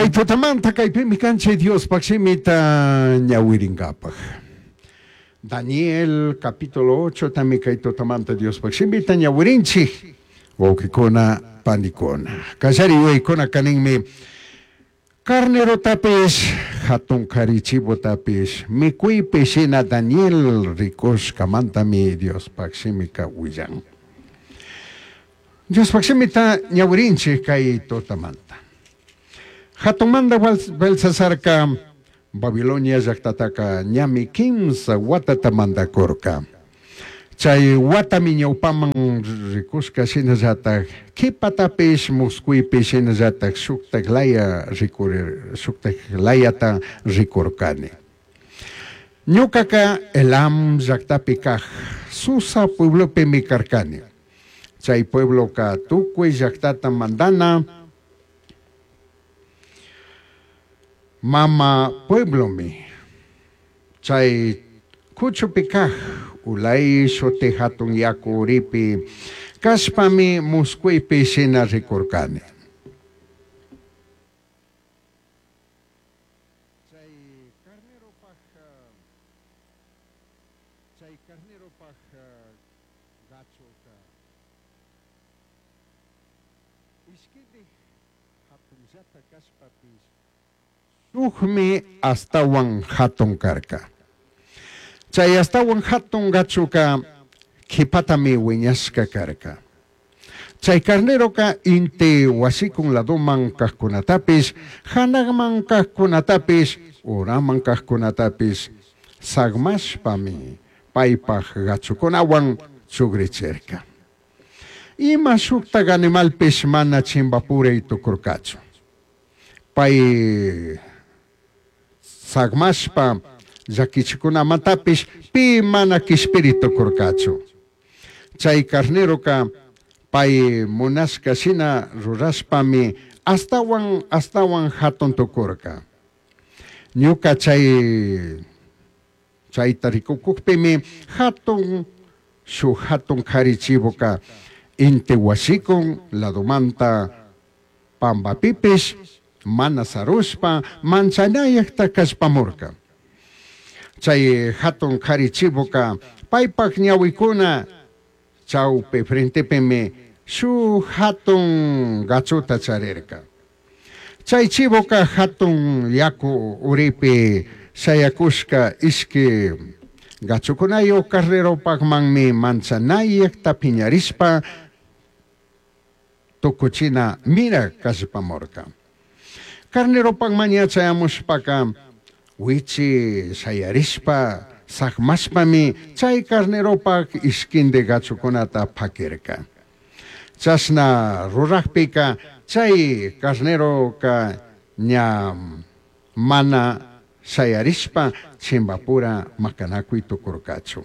Kay tutamanta kaypimi kanchik Diospaj shimita ñawiringapaj. Daniel capítulo 8 tami kay tutamanta Diospaj shimita ñawirinchik. Wawqikuna, panikuna. Kallari yuyaykuna kaninmi carnerotapish, jatun kari chivotapish mikuypi shina Daniel rikushkamantami Diospaj shimika willan. Diospaj shimita ñawirinchik kay tutamanta. Jatunmanta Belsasarca Babilonia llajtataka ñami quimsa huatata mandacurca. Chai huatami ñaupaman ricushca shinallataj q'uipatapish muscuipi shinallataj shujtaj laya ricurir shujtaj layata ricurcani. Ñucaca Elam llajtapi caj Susa pueblopimi carcani. Chai puebloca tucui llajtata mandana mama pueblomi. Chai cuchupi caj Ulai shuti jatun yacu uripi cashpami muscuipi shina ricurcani. Chai carneropaj chai carneropaj gachuca ishquindij jatunllata cashpapish shujmi ashtahuan jatun carca. Chai ashtahuan jatun gachuca q'uipatami huiñashca carca. Chai carneroca inti huashicun ladoman cajcunatapish, janajman cajcunatapish, uraman cajcunatapish sagmashpami paipaj gachucunahuan chugrichirca. Ima shujtaj animalpish mana chimbapurai tucurcachu. Pai sagmashpa llaquichicunamantapish pi mana quishpiri tucurcachu. Chai carneroca pai munashca shina rurashpami ashtahuan ashtahuan jatun tucurca. Ñuca chai chaita ricucujpimi jatun shuj jatun jari chivoca inti huashicun ladomanta pambapipish mana sarushpa manchanayajta callpamurca. Chai jatun jari chivoca paipaj ñahuicuna chaupi frentepimi shuj jatun gachuta charirca. Chai chivoca jatun yacu uripi shayacushca ishqui gachucunayuj carneropajmanmi manchanayajta piñarishpa tucuchina mira callpamurca. Carneropajman ña chayamushpaca huichi shayarishpa sagmashpami chai carneropaj ishquindi gachucunata paquirca. Chashna rurajpica chai carneroca ña mana shayarishpa chimbapura macanacui tucurcachu.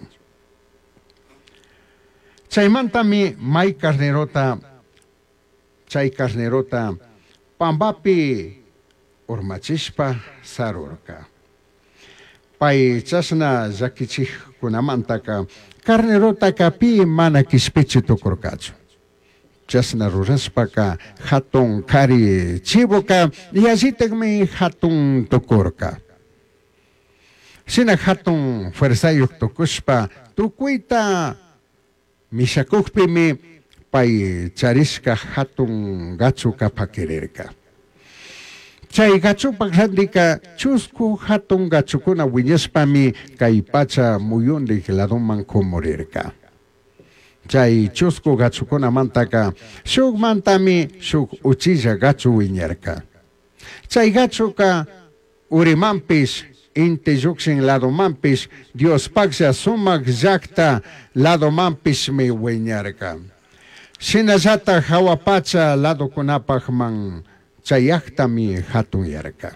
Chaimantami mai carnerota chai carnerota pambapi urmachishpa sarurca. Pai chashna llaquichijcunamantaca carnerotaca pi mana quishpichi tucurcachu. Chashna rurashpaca jatun cari chivoca yallitajmi jatun tucurca. Shina jatun fuerzayuj tucushpa tucuita mishacujpimi pai charishca jatun gachuca paquirirca. Chai gachupaj randica chuscu jatun gachucuna huiñashpami cai pacha muyundij ladoman cumurirca. Chai chuscu gachucunamantaca shujmantami shuj uchilla gachu huiñarca. Chai gachuca urimanpish inti llukshin ladomanpish Diospajlla sumaj llajta ladomanpishmi huiñarca. Shinallataj jahua pacha ladocunapajman chayajtami jatunyarca.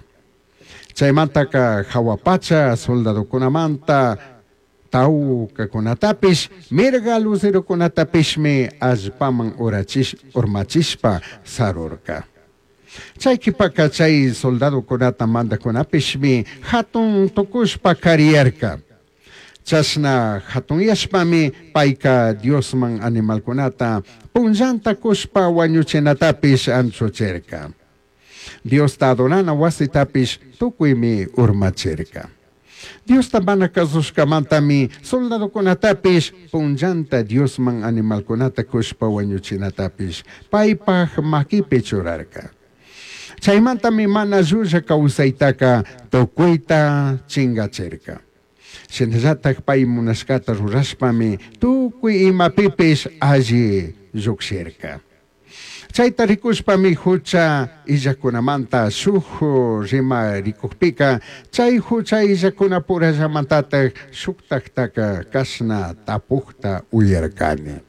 Chaimantaka jahua pacha soldadocunamanta taucacunatapish mirga lucerocunatapishmi allpaman urachish urmachishpa sarurca. Chay qhipaka chay soldadocunata mandajcunapishmi jatun tucushpa kariyarca. Chashna jatunyashpami payka Diosman animalcunata punllanta cushpa wañuchinatapish anchuchirca. Diosta adorana huasitapish tucuimi urmachirca. Diosta mana cazushcamantami soldadocunatapish punllanta Diosman animalcunata cushpa huañuchinatapish paipaj maquipi churarca. Chaimantami mana llulla causaitaca tucuita chingachirca. Shinallataj pai munashcata rurashpami tucui imapipish alli llujshirca. Chaita ricushpami jucha illajcunamanta shuj rimaricujpica chai jucha illajcunapurallamantataj shujtajtaca cashna tapujta uyarcani.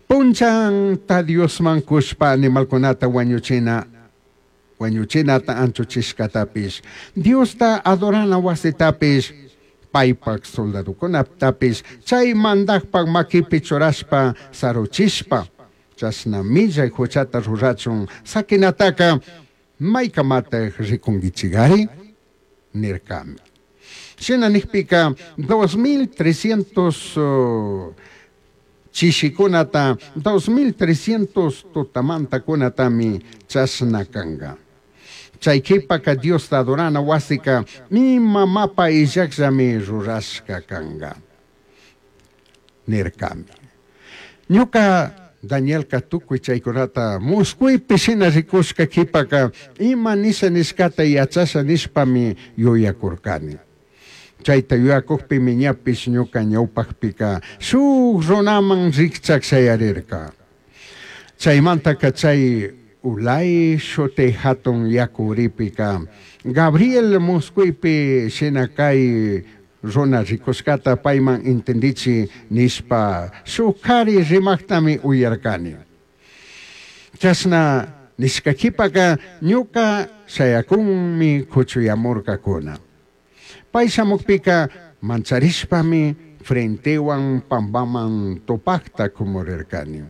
Punllanta Diosman cushpa animalcunata huañuchina huañuchinata anchuchishcatapish, Diosta adorana huasitapish, paipaj soldadocunatapish chai mandajpaj maquipi churashpa saruchishpa, chashna millai juchata rurachun saquinataca maicamataj ricunguichigari? Nircami. Shina nijpica 2300 chishicunata, 2300 tutamantacunatami chashna canga. Chai quipaca Diosta adorana huasica ima mapa illajllami rurashca canga. Nircami. Ñuca Danielca tucui chaicunata muscuipi shina ricushca quipaca ima nisha nishcata yachasha nishpami yuyacurcani. Chaita yuyacujpimi ñapish ñuca ñaupajpica shuj runaman rijchaj shayarirca. Chaimantaca chai Ulai shuti jatun yacu uripica Gabriel muscuipi shina cai runa ricushcata paiman entendichi nishpa shuj jari rimajtami uyarcani. Chashna nishca quipaca ñuca shayacunmi cuchuyamurcacuna. Pai shamujpica mancharishpami frentehuan pambaman tupajta cumurircani.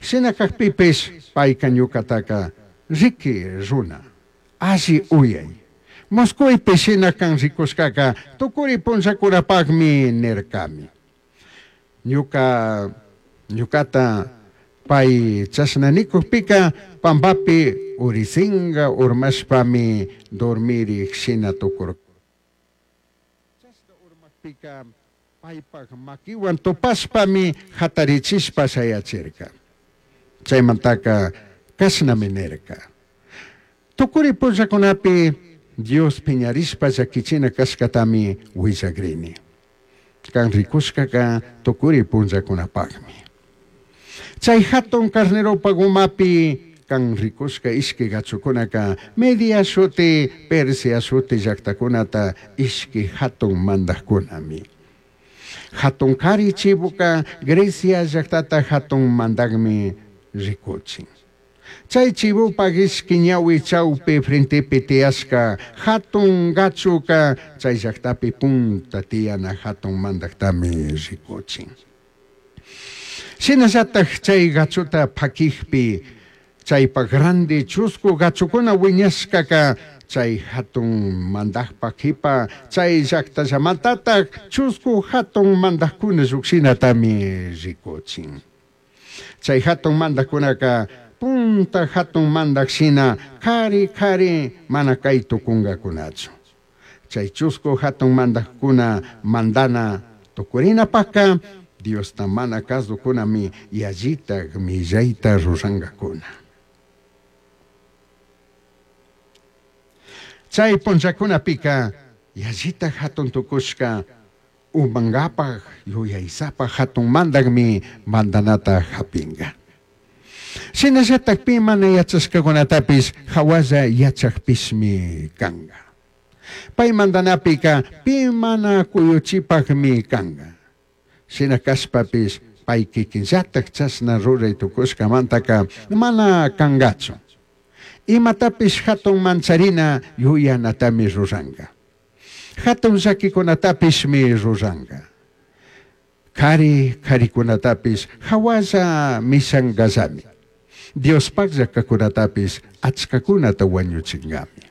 Shina cajpipish paica ñucataca riqui runa, alli uyai. Muscuipi shina can ricushcaca tucuri punllacunapajmi nircami. Ñuca ñucata pai chashna nicujpica pambapi urisinga urmashpami dormirij shina tucurca. Chashna urmajpica paipaj maquihuan tupashpami jatarichishpa shayachirca. Chaimantaca cashnami nirca. Tucuri punllacunapi Dios piñarishpa llaquichina cashcatami huillagrini. Can ricushcaca tucuri punllacunapajmi. Chai jatun carneropaj umapi can ricushca ishqui gachucunaca Media shuti, Persia shuti llactacunata ishqui jatun mandajcunami. Jatun cari chivoca Grecia llactata jatun mandajmi ricuchin. Chai chivopaj ishqui ñahui chaupi frentepi tiyashca jatun gachuca chai llactapi punta tiyana jatun mandajtami ricuchin. Shinallataj chai gachuta paquijpi chaypaj grande chuscu gachucuna wiñashcaca chay hatun mandajpaj quipa chay llactallamantataj chuscu hatun mandajkuna llukshinatami rikuchin. Chay hatun mandajkunaka punta hatun mandaj shina kari kari mana kay tukungakunachu. Chay chuscu hatun mandajkuna mandana tukurinapajka Diosta mana kasukunami yallitaj millayta rurangakuna. Chay punllakunapika yallita hatun tukushka umankapaj yuyaysapa hatun mandajmi mandanata hapinga. Shinallatak pi mana yachashkakunatapish hawalla yachakpishmi kanga. Pay mandanapika pi mana kuyuchipakmi kanga. Shina kashpapish pay kikinllatak chashna ruray tukushkamantaka mana kangachu. Imatapish hatun mancharina yuyanatami ruranka. Hatun llakikunatapishmi ruranka. Kari karikunatapish hawalla mishankallami. Diospaj llakakunatapish achkakunata wañuchinkami.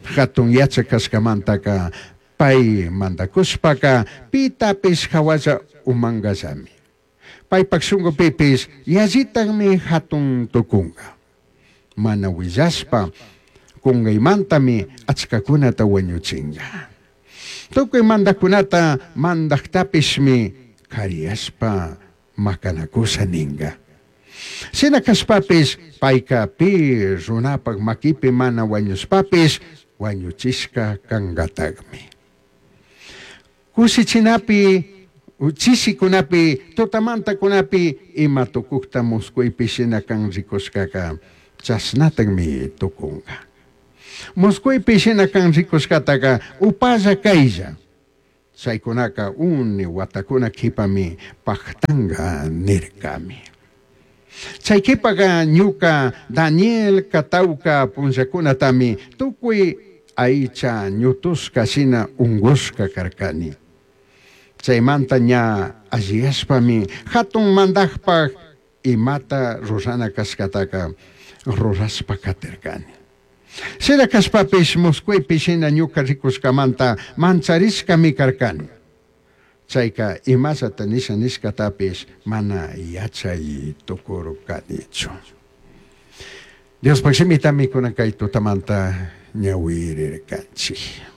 Hatun yachak kashkamantaka pay mandakushpaka pitapish hawalla umankallami. Paypak shunkupipish yallitakmi hatun tukunka. Mana huillashpa cungaimantami achcacunata huañuchinga. Tucui mandajcunata mandajtapishmi cariyashpa macanacusha ninga. Shina cashpapish paica pi runapaj maquipi mana huañushpapish huañuchishca cangatajmi. Cushichinapi, chishicunapi, tutamantacunapi ima tucujta muscuipi shina can ricushcaca chashnatajmi tucunga. Muscuipi shina can ricushcataca upalla cailla. Chaicunaca uni huatacuna quipami pajtanga nircami. Chai quipaca ñuca Daniel tauca punllacunatami tucui aicha ñutushca shina ungushca carcani. Chaimanta ña alliyashpami jatun mandajpaj imata rurana cashcataca rurashpa catircani. Shina cashpapish muscuipi shina ñuca ricushcamanta mancharishcami carcani. Chaica imallata nisha nishcatapish mana yachai tucurcanichu. Diospaj shimitami cunan cai tutamanta ñahuirircanchij.